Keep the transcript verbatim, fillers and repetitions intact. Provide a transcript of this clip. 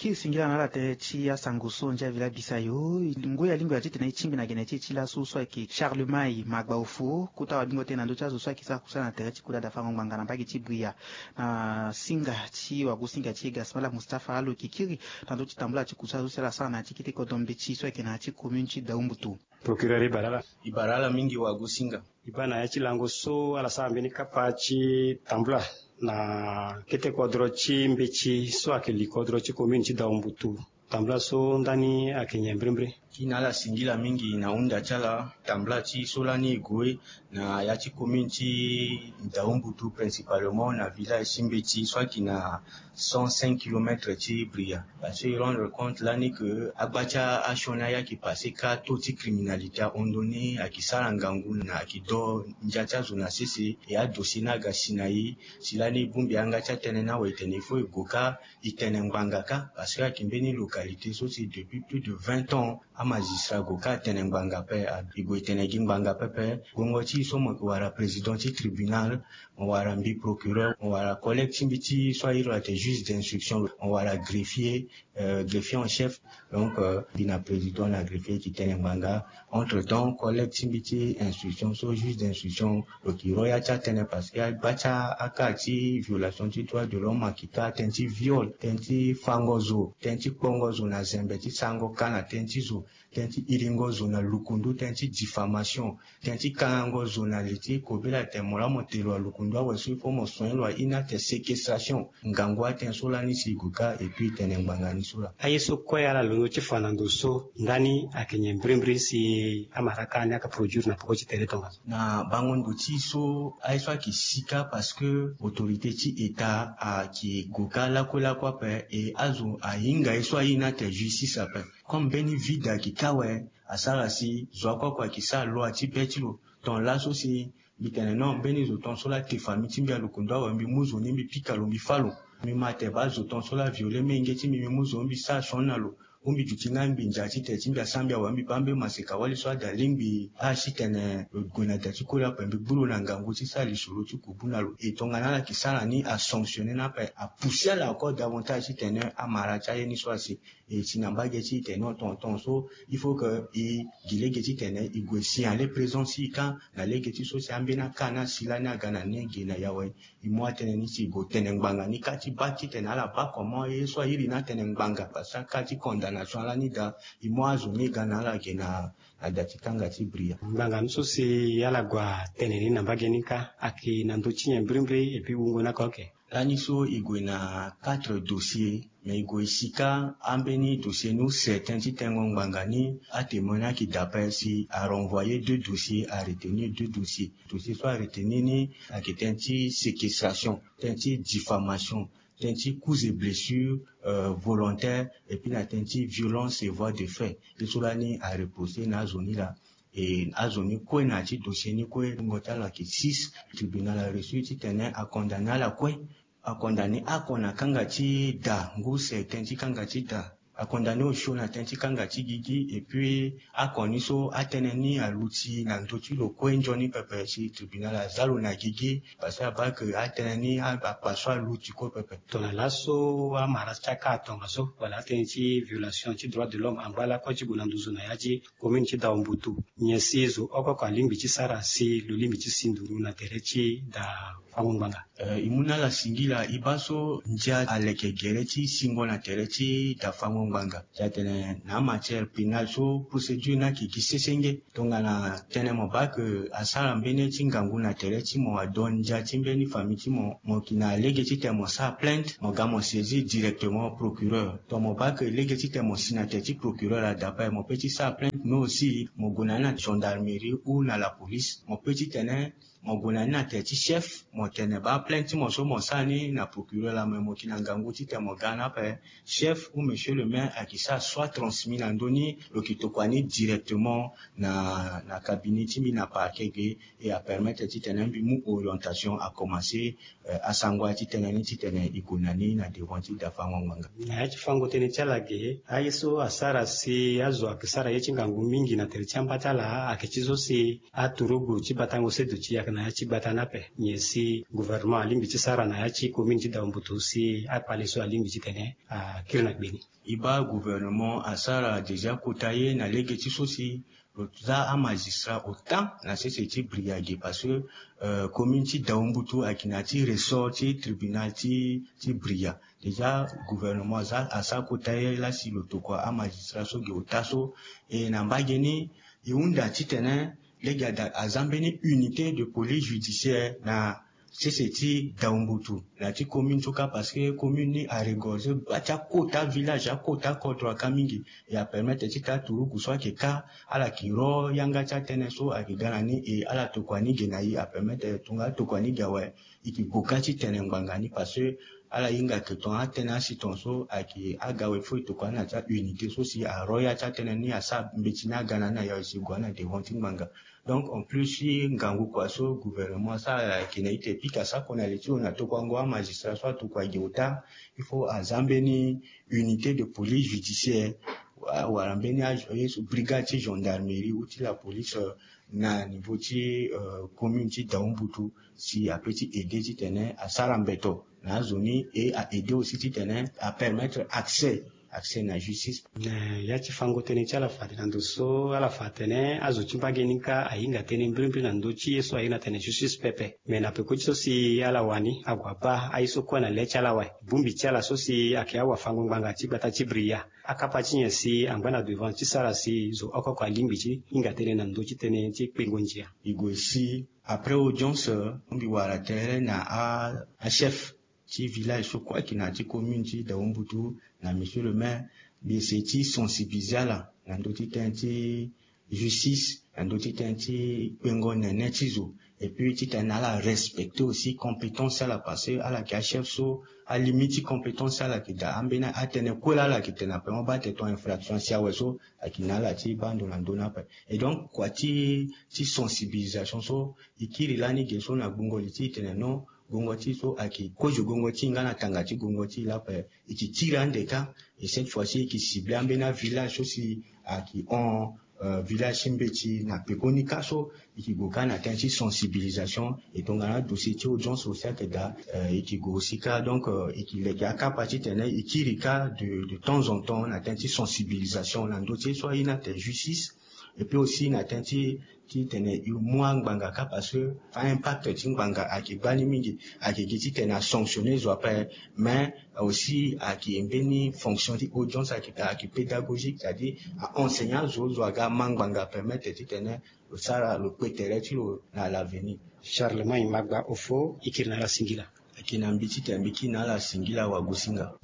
Kiri singila na ala tënë ti asango so ndia vila bisa yo. Ngoi alingbi ala titene e tingbi na gene ti e ti laso so ayeke Charlemagne Magbaofo, kota wabingo tënë na ndö ti azo so ayeke sara kusala na tere ti kota dafango ngbanga na mbage ti Bria, na singa ti wagosinga ti e Gasmala Mustapha, alo yeke kiri na ndö ti tambula ti kusala so si ala sara na ya ti kete kodro mbeti so ayeke na ya ti commune ti Daumbutu. Procureur, e bara ala. E bara ala mingi wagosinga. E baa na ya ti lango so ala sara mbeni kapa ti tambula na kete kodro ti mbeti so ayeke li kodro ti commune ti Daumbutu. Tambula so ndani ayeke nyen mbirimbiri? Kiri na ala singila mingi na hunda ti ala. Tambula ti so lani e gue na ya ti commune ti Daumbutu, principalement na village ti mbeti so ayeke na cent cinq kilomètres ti Bria. Parce que e rendre compte lani ke agba ti asioni aye ayeke passé kâ, taux ti criminalité ahon ndoni, ayeke sara ngangu na ayeke do ndia ti azo na sese. E adossier ni aga si na e. Si lani e bongbi yanga ti atënë ni awe, e tene il faut e gue kâ e tene ngbanga kâ, parce que ayeke mbeni localité so si depuis plus de vingt ans amagistrat gue kâ atene ngbanga ape. E gue e tene gi ngbanga pepe. Gongo ti e so mo yeke wara président ti tribunal, mo wara mbi procureur, mo wara collègue ti mbi ti so a iri lo atene juge d'instruction, mo wara greffier, euh, greffier en chef. Donc, euh, mbi na président na greffier e tene ngbanga. Entre temps, collègue ti mbi ti instruction so, juge d'instruction, lo yeke ro ya ti atënë, parce que agba ti aka ti violation ti droit de l'homme ayeke kâ tënë ti viol, tënë ti fango zo, tënë ti kpongo zo na zembe, ti sarango ka na tënë ti zo, tënë ti iringo zo na lukundu, tënë ti diffamation, tënë ti kangango zo na li ti kobela, tene mo laa mo te lo na lukundu awe so, il faut mo soigner lo, a iri ni atene séquestration. Ngangu atënë so lani si e gue kâ, et puis e tene ngbanga ni so laa. Aye so kue ala londo ti fa na ndo so ndani ayeke nyen mbirimbiri si amara kâ ni ayeke produire na peko ti tere tongaso? Na bango ndo ti e so, aye so ayeke si kâ, parce que autorité ti État ayeke gue kâ lakue lakue ape, e azo ahinga ye so a iri ni atene justice ape. Comme mbeni vide ayeke kâ awe, asara si zo akue akue ayeke sara loa ti be ti lo. Ton laso si mbi tene non, mbeni zo ton so laa te famille ti mbi na lukundu awe, mbi mu zo ni mbi pika lo, mbi fâ lo. Mbi ma atene baa zo ton so laa aviole menge ti mbi, mbi mu zo ni mbi sara sioni na lo. Ou mbi duti nga mbi ndia ti tene ti mbi asara mbi awe, mbi baa mbeni maseka wali so ada lingbi asi tene lo gue na da ti koli ape, mbi gbu lo na ngangu ti sara lisoro ti kubu na lo. E tongana ala yeke sara ni, asanctionner ni ape, apousser ala encore davantage titene amara ti aye ni so asi. E si na mbage ti e tene non, ton ton so, il faut que e gi lege titene e gue signaler présence ti e kâ na lege ti so si ambeni aka ni asi lani aga na ni ge na e awe. E mu atënë ni si e gue tene ngbanga ni kâ ti baa titene ala baa comment ye so a iri ni atene ngbanga, parce que aka ti condamnation lani daa, e mu azo ni e ga na ala ge na, na da ti kanga ti Bria. Ngbanga ni so si ala gue atene ni na mbage ni kâ, ayeke na ndö ti nyen mbirimbiri, et puis wungo ni akoke? Lani so e gue na quatre dossiers, mais e gue e si kâ ambeni dossier ni use tënë ti tengo ngbanga ni. Atémoin ni ayeke daa ape si a renvoyer deux dossiers, a retenir deux dossiers. Dossier so a retenir ni ayeke tënë ti séquestration, tënë ti diffamation, tënë ti coups et blessures, euh, volontaires, et puis na tënë ti violence et voies de fait. Ye so lani a reposer na azo ni laa. E azo ni kue na ya ti dossier ni kue, wungo ti ala ayeke six. Tribunal a reçu titene a condamner ala kue. A condamner oko na kanga ti da, ngu use tënë ti kanga ti da. A condamner osio na tënë ti kanga ti gigi, et puis oko ni so atënë ni aluti na ndö ti lo kue nzoni pepe, si tribunal aza lo na gigi, parce que abaa ke atënë ni a, akpa so aluti kue pepe. Tongana laso amara ti aka atongaso, wala atënë ti violation ti droit de l'homme angba lakue ti gue na nduzu na ya ti commune ti Daumbutu, nyen si zo oko oko alingbi ti sara si lo lingbi ti si nduru na tere ti da fango ngbanga? Euh, e mu na ala singila, e baa so ndia aleke gere ti singo na tere ti da fango ngbanga. Ti atene na amatière pénale so procédure ni ayeke gi sesenge. Tongana tënë mo baa ke asara mbeni ye ti ngangu na tere ti mo, ado ndia ti mbeni famille ti mo, mo yeke na lege titene mo sara plainte, mo ga mo saisir directement procureur. To mo baa ke lege titene mo si na tere ti procureur ada ape, mo peut ti sara plainte, mais aussi mo gue na ni na gendarmerie ou na la police, mo peut titene mo gue na ni na tere ti chef, mo tene baa plainte ti mo so mo sara ni na procureur laa, me mo yeke na ngangu titene mo ga na ape. Chef ou monsieur le maire ayeke sara soit transmis na ndö ni, lo yeke tokua ni directement na, na cabinet ti mbi na parquet ge, e apermettre titene mbi mu orientation, akomanse, euh, asango aya ti tënë ni titene e gue na ni na devant ti da fango ngbanga. Na ya ti fango tënë ti ala ge, aye so asara si azo ayeke sara ye ti ngangu mingi na tere ti amba ti ala ayeke ti so si aturugu ti batango seduti ayeke Na ya ti gbata ni ape nyen si gouvernement alingbi ti sara na ya ti commune ti Daombutu si akpale so alingbi titene akiri na gbe ni? E baa gouvernement asara déjà kota ye na lege ti so si lo za amagistrat autant na sese ti Bria ge parce que commune ti Daombutu ayeke na ya ti ressort ti tribunal ti Bria. Déjà gouvernement aza asara kota ye la si lo tokua amagistrat so ge ota so. E na mbage ni e hunda titene lege ada aza mbeni unité de police judiciaire na sese ti Daombutu na ya ti commune so kâ parce que commune ni aregorge bâ ti akota village akota kodro aka mingi. E apermettre ti taa turugu so ayeke kâ ala yeke ro yanga ti atënë so ayeke ga na ni e ala tokua ni ge na e apermettre tongana atokua ni ge awe. E yeke gue kâ ti tene ngbanga ni parce que ala hinga ke tongana atënë asi tongaso ayeke aga awe fo e tokua ni na ti aunité so si aro ya ti atënë ni asara mbeti ni aga na ni na ya e si gue na devant ti ngbanga. Donc en plus ti ngangu kua so gouvernement asara ayeke na ite pika sako na li ti lo na tokuango amagistrat so atokua ge ota. Il faut aza mbeni unité de police judiciaire wala mbeni azo ye so brigade ti gendarmerie ou ti la police na niveau ti commune ti Daombutu si ape ti aider titene asara mbeto na azo ni e a aider aussi titene apermettre accès accès na justice. Ya ti fango tënë ti ala fade na ndo so ala fa atene azo ti mbage ni kâ ahinga tënë mbirimbiri na ndö ti ye so aye na tene justice pepe. Me na peko ti so si ala wani ague abaa aye so kue na le ti ala awe. Bongbi ti ala so si ayeke awafango ngbanga ti gbata ti Bria akapa ti nyen si angba na devant ti sara si zo oko oko alingbi ti hinga tënë na ndö ti tënë ti kpengo ndia? E gue si après audience mbi wara tere na achef ti village so kue ayeke na ya ti commune ti Daombutu na monsieur le maire. Mbi essayer ti sensibiliser ala na ndö ti tënë ti justice na ndö ti tënë ti kpengo nene ti zo. Et puis titene ala respecter aussi compétence ti ala parce que ala yeke achef so alimite ti compétence ti ala yeke daa ambeni atënë kue laa ala yeke tene ape mo baa tene ton infraction asi awe so ayeke na ala ti baa ndo na ndö ni ape. Et donc kua ti sensibilisation so e kiri lani ge so na gbungo li ti e tene non, gongo ti e so ayeke kozo gongo ti e nga na tanga ti gongo ti e laa ape. E yeke kiri ande kâ. Et cette fois ci e yeke cibler ambeni avillage so si ayeke hon village ti mbeti na pekoni kâ so e yeke gue kâ na tënë ti sensibilisation. Et tongana adossier ti audience aussi ayeke daa e yeke gue aussi kâ. Donc e yeke leke akapa titene e kiri kâ de temps en temps na tënë ti sensibilisation na ndö ti ye so aye ni atene justice. Et puis aussi na tënë ti titene e mu angbanga kâ parce que aimpact ti ngbanga ayeke gbani mingi. Ayeke gi titene asanctionner zo ape. Mais aussi ayeke mbeni fonction ti audience ayeke pédagogique c'est à dire a enseigner azo zo aga ama ngbanga permettre titene lo sara lo kpe tere ti lo na l'avenir. Charlemagne Magba Ofo, e kiri na ala singila. Ayeke na mbi titene mbi kiri na ala singila wagosinga.